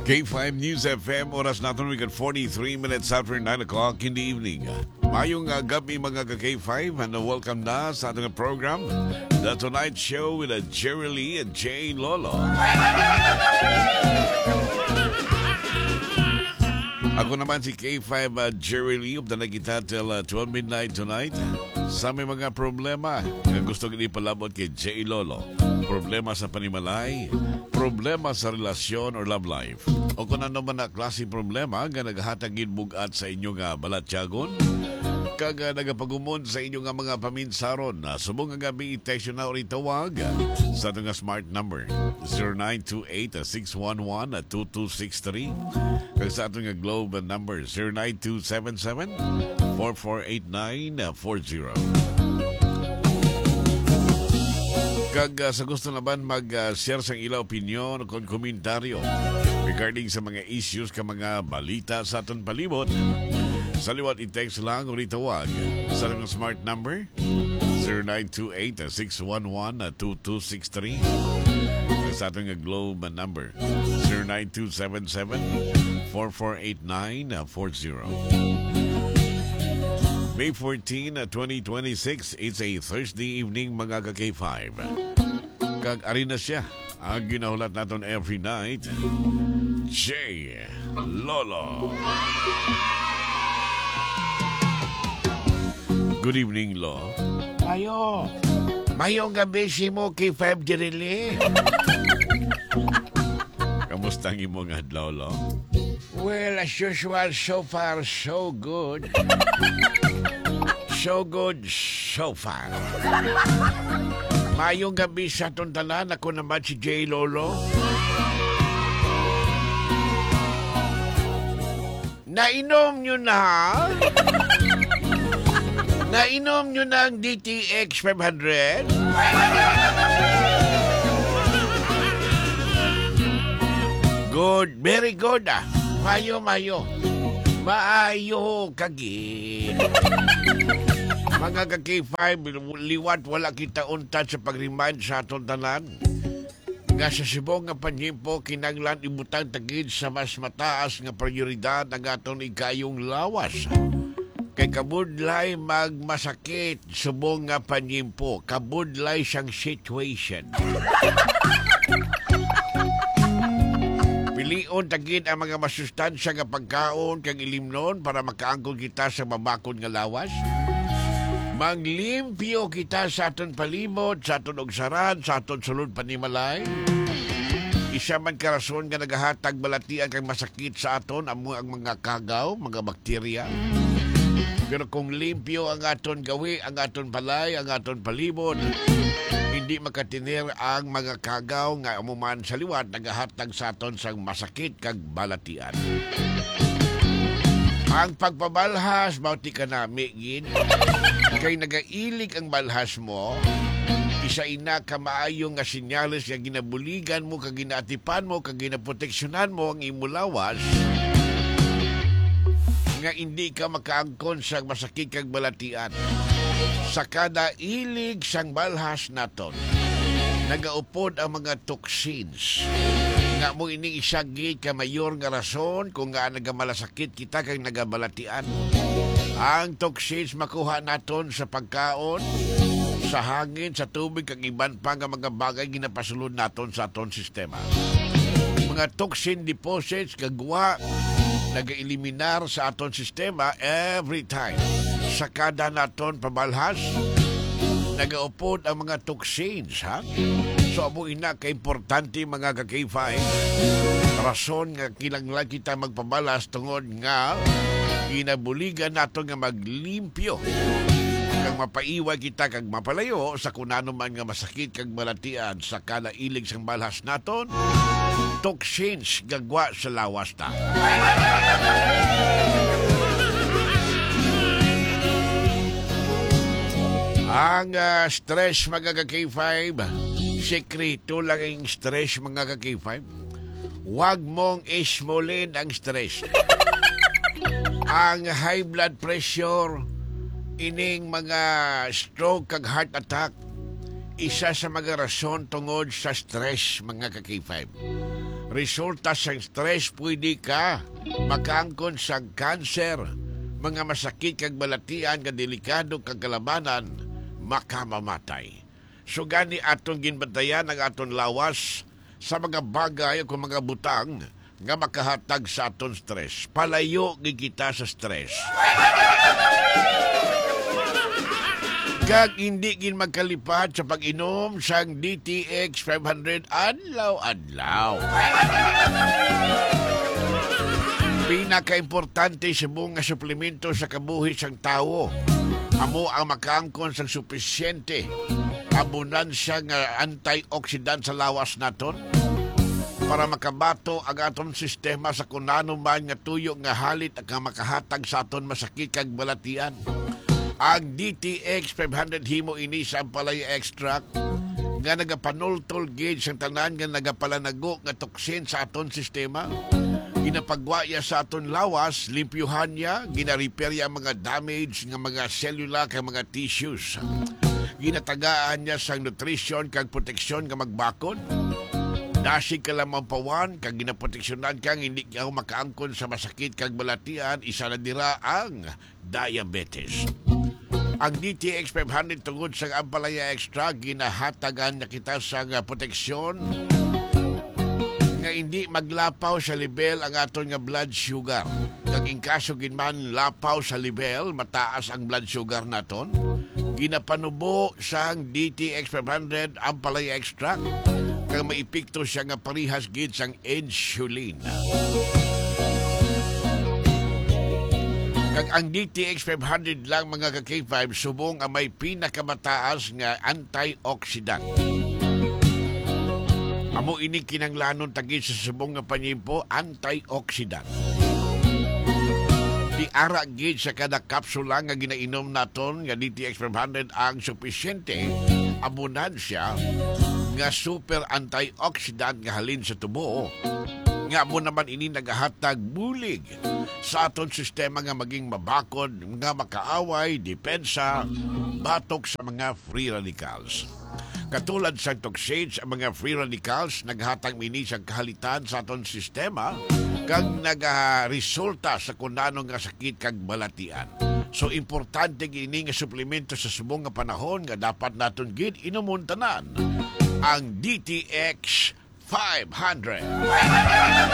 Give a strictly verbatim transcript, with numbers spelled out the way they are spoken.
K five News F M, oras naton, we got forty-three minutes after nine o'clock in the evening. Mayong, ah, gabi, mga ka K five, and welcome na sa ating program, The Tonight Show with, uh, Jerry Lee and Jay Lolo. Ako naman si K five, uh, Jerry Lee. Updan na kita till, uh, twelve midnight tonight. Sa may mga problema nga gusto gid ipalabot kay Jay Lolo, problema sa panimalay, problema sa relasyon or love life, o kung ano man na klase problema nga naghatag gid bug-at sa inyo nga balatyagon, kag, ah, nagapagumon sa inyo nga mga paminsaron, na subong nga gabi, i-text na or itawag sa ato nga smart number, zero nine two eight, six one one, two two six three, kag sa ato nga Globe number, zero nine two seven seven, four four eight nine four zero. Kag, ah, sa gusto naman mag, ah, share sang ila opinyon o kon komentaryo regarding sa mga issues ka mga balita sa aton palibot, sa liwat i-text lang o itawag sa aton smart number, zero nine two eight, six one one, two two six three. Sa aton nga Globe number, zero nine two seven seven, four four eight nine four zero. May fourteen, twenty twenty-six, it's a Thursday evening, mga ka K five. Kag ari na siya, ang ginahulat naton every night, Jay Lolo. Good evening, Lo. Mayo. Mayong gabi sa imo, K five Dirili. Kamusta ang imo nga adlaw, Lo? Well, as usual, so far, so good. So good, so far. Mayong gabi sa aton tanan. Ako naman si Jay Lolo. Nainom nyo na? Nainom nyo na ang D T X five hundred? Good, very good, ah. Mayo, mayo. Maayo ka gid. Mga ka K five, liwat wala kita untat sa pag-remind sa aton tanan nga sa subong nga panyimpo, kinahanglan ibutang ta gid sa mas mataas nga prioridad ang aton ikayong lawas. Kay kabudlay magmasakit subong nga panyimpo, kabudlay sang situation. Pilion ta gid ang mga masustansya nga pagkaon kag ilimnon para makaangkon kita sa mabakod nga lawas. Manglimpyo kita sa aton palibot, sa aton ugsaran, sa aton sulod panimalay. Isa man ka rason nga nagahatag balatian kag masakit sa aton amo ang mga kagaw, mga bakterya. Pero kung limpyo ang aton gawi, ang aton balay, ang aton palibot, hindi makatener ang mga kagaw nga amo man sa liwat nagahatag sa aton sang masakit kag balatian. Ang pagpabalhas, mao ti kanami gid, kay nagailig ang balhas mo, isa ina ka maayo nga senyales nga ginabuligan mo, kag ginaatipan mo, kag ginaproteksyonan mo ang imo lawas, nga indi ka makaangkon sa masakit kag balatian. Sa kada ilig sang balhas naton, nagaupod ang mga toxins, nga mo ining isa gid ka mayor nga rason kung nga nagamalasakit kita kag nagabalatian. Ang toxins makuha naton sa pagkaon, sa hangin, sa tubig, kag iban pa nga mga bagay ginapasulod naton sa aton sistema. Mga toxin deposits, gagwa, nagaeliminar sa aton sistema every time. Sa kada naton pabalhas, nagaupod ang mga toxins, ha? So, amo ina ka importante, mga ka K five. Rason nga kinahanglan kita magpabalhas tungod nga ginabuligan nato nga maglimpyo kag mapaiway kita kag mapalayo sa kun ano man nga masakit kag balatian sa kada ilig sang balhas naton, toxins, gagwa sa lawas ta. Ang, ah, stress, mga ka K five, sekreto lang ang stress, mga ka K five. Wag mong ismulin ang stress. Ang high blood pressure, ining mga stroke kag heart attack, isa sa mga rason tungod sa stress, mga ka K five. Resulta sang stress, pwede ka makaangkon sang cancer, mga masakit kag balatian nga delikado kag kalabanan, makamamatay. So gani, aton ginbantayan ang aton lawas sa mga bagay o kung mga butang nga makahatag sa aton stress. Palayo gid kita sa stress. Kag hindi gid magkalipat sa pag-inom sang D T X five hundred adlaw-adlaw. Pinakaimportante subong nga suplemento sa kabuhi sang tawo amo ang makaangkon sang supisyente abundansya nga antioxidant sa lawas naton para makabato ang aton sistema sa kun ano man nga tuyo nga halit nga makahatag sa aton masakit kag balatian. Ang D T X five hundred, himo ini sa ampalaya extract nga nagapanultol gid sang tanan nga nagapalanago nga toksin sa aton sistema. Ginapagwa iya sa aton lawas, limpyuhan niya, gina-repair iya ang mga damage nga mga selula kag mga tissues. Ginatagaan niya sang nutrition kag proteksyon nga magbakod. Dasig ka lamang pawan kag ginaproteksyonan ka nga hindi ka makaangkon sa masakit kag balatian, isa na dira ang diabetes. Ang D T X five hundred tungod sa ampalaya extra, ginahatagan na kita sa nga proteksyon nga hindi maglapaw sa level ang aton nga blood sugar. Kag in kaso gid man lapaw sa level, mataas ang blood sugar naton, ginapanubo sang D T X five hundred ampalaya extract, kag may epekto siya nga parehas gid sang insulin. Kag ang D T X five hundred lang, mga ka-K five, subong ang may pinakamataas nga antioxidant. Amo ini kinahanglanon ta gid sa subong nga panimpo, antioxidant. Di ara gid sa kada kapsula nga ginainom naton nga D T X five hundred ang supisyente, amo na siya nga super antioxidant nga halin sa tubo, nga amo naman ini nagahatag bulig sa aton sistema nga maging mabakod, nga makaaway, depensa, batok sa mga free radicals. Katulad sa toxins, ang mga free radicals naghatag mini sa kahalitan sa aton sistema kag nagaresulta sa kunano nga sakit kag balatian. So, importante gid ini nga suplemento sa subong nga panahon nga dapat naton gid inumon tanan, ang D T X five hundred.